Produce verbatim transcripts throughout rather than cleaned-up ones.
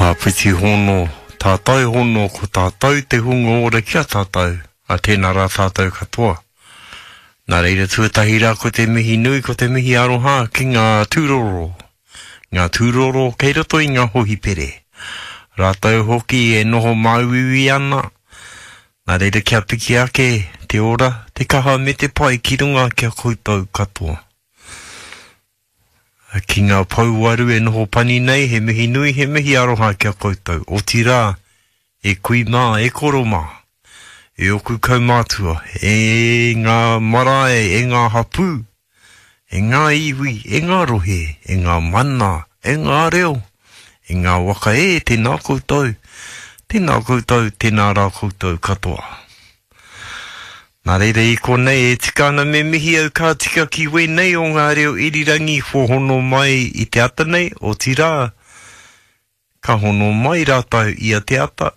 Āpiti hono, tātou hono, ko tātou te hunga ora ki a tātou, a tēnā rā tātou katoa. Nā reira tuatahi rā ko te mihi nui, ko te mihi aroha ki ngā tūroro. Ngā tūroro kei roto i ngā hohipere. Rātou hoki e noho māuiui ana. Nā reira kia piki ake te ora, te kaha me te pai ki runga ki a koutou katoa. Ki ngā pouwaru e noho pani nei, he mihi nui, he mihi aroha ki a koutou. Otirā, e kui mā, e koro mā, e oku kaumātua, e ngā marae, e ngā hapū, e ngā iwi, e ngā rohe, e ngā mana, e ngā reo, e ngā waka e, tēnā koutou, tēnā koutou, tēnā rā koutou katoa. Nā reira i konei e tika ana me mihi au ka tika ki wēnei o ngā reo irirangi kua hono mai i te ata nei, otirā, ka hono mai rātou ia te ata,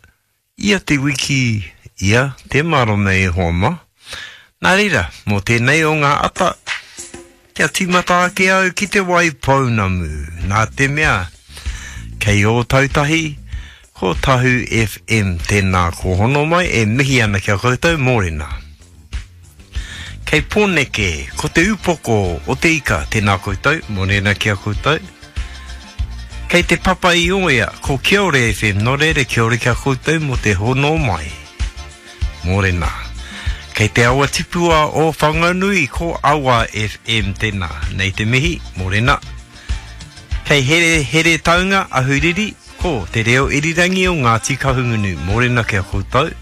ia te wiki, ia te marama e hoa mā. Nā reira, mō tēnei o ngā ata, kia tīmata ake au ki Te Waipounamu, nā te mea, kei Ōtautahi, ko Tahu F M tēnā ko hono mai e mihi ana ki a koutou, mōrena. Kei Pōneke, ko te upoko o te ika, tēnā koutou, mōrena ki a koutou. Kei te Papa i Oea, ko Kiore F M, nō reira kia ora ki a koutou mō te hono mai. Mōrena. Kei te awa tipua o Whanganui, ko Awa F M tēnā, nei te mihi, mōrena. Kei Here, Heretaunga, Ahuriri, ko te reo irirangi o Ngāti Kahungunu, mōrena ki a koutou.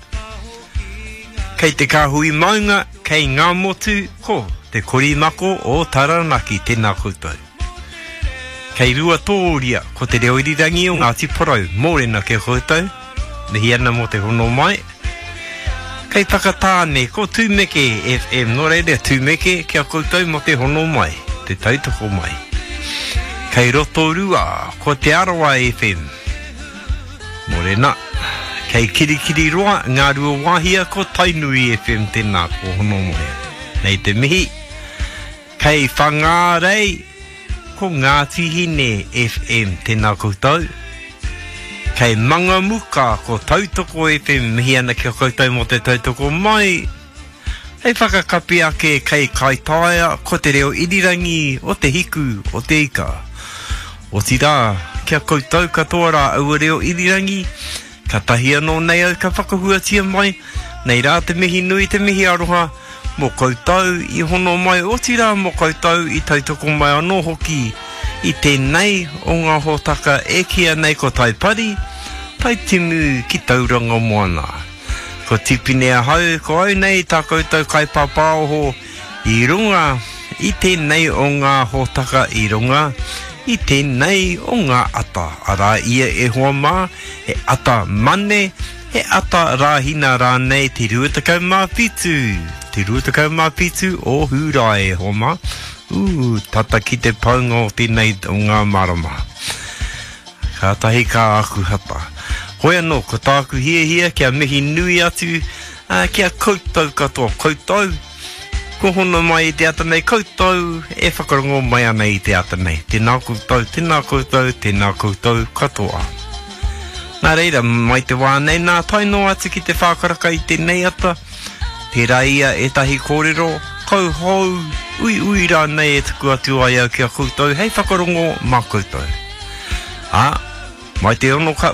Kei te kāhui maunga, kei Ngāmotu, ko te korimako o Taranaki, tēnā koutou. Kei Ruatōria, ko te reo irirangi o Ngāti Porou, mōrena ki a koutou, mihi ana mō te hono mai. Kei Whakatāne, ko Tūmeke F M, nō reira Tūmeke ki a koutou mō te hono mai, te tautoko mai. Kei Rotorua, ko Te Arawa F M, mōrena. Kei Kirikiriroa, Ngā Ruawāhia, ko Tainui F M tēnā, ko hono mai. Nei te mihi. Kei Whangārei, ko Ngāti Hine F M tēnā koutou. Kei Mangamuka, ko Tautoko F M, mihi ana ki a koutou mō te tautoko mai. Hei whakakapi ake kei Kaitaia, ko te reo irirangi o te hiku o te ika. Otirā, kia koutou katoa rā aua reo irirangi, ka tahi anō nei au ka whakahuatia mai, nei rā te mihi nui te mihi aroha, mō koutou i hono mai, otirā mō koutou i tautoko mai anō hoki i tēnei o ngā hōtaka e kīia nei ko Taipari, Taitimu ki Tauranga Moana. Ko Tipene ahau, ko au nei tā koutou kaipāpāoho i runga i tēnei o ngā hōtaka i runga i tēnei o ngā ata. Arā ia e hoa mā, he ata mane, he ata rāhina rānei te rua tekau mā whitu, te rua tekau mā whitu o Hūrae e hoa mā. Ū, tata ki te paunga o tēnei o ngā marama. Kātahi ka aku hata. Hoi anō, ko tāku hiahia kia mihi nui atu, ā, ki a koutou katoa, koutou, ko hono mai i te ata nei, koutou e whakarongo mai ana i te ata nei. Tēnā koutou, tēnā koutou, tēnā koutou katoa. Nā reira, mai te wā nei nā, tae noa atu ki te whākaraka i tēnei ata, tērā ia ētahi kōrero, kauhou, uiui rānei e tuku atu ai au ki a koutou hei whakarongo mā koutou. Ā, mai te ono ka,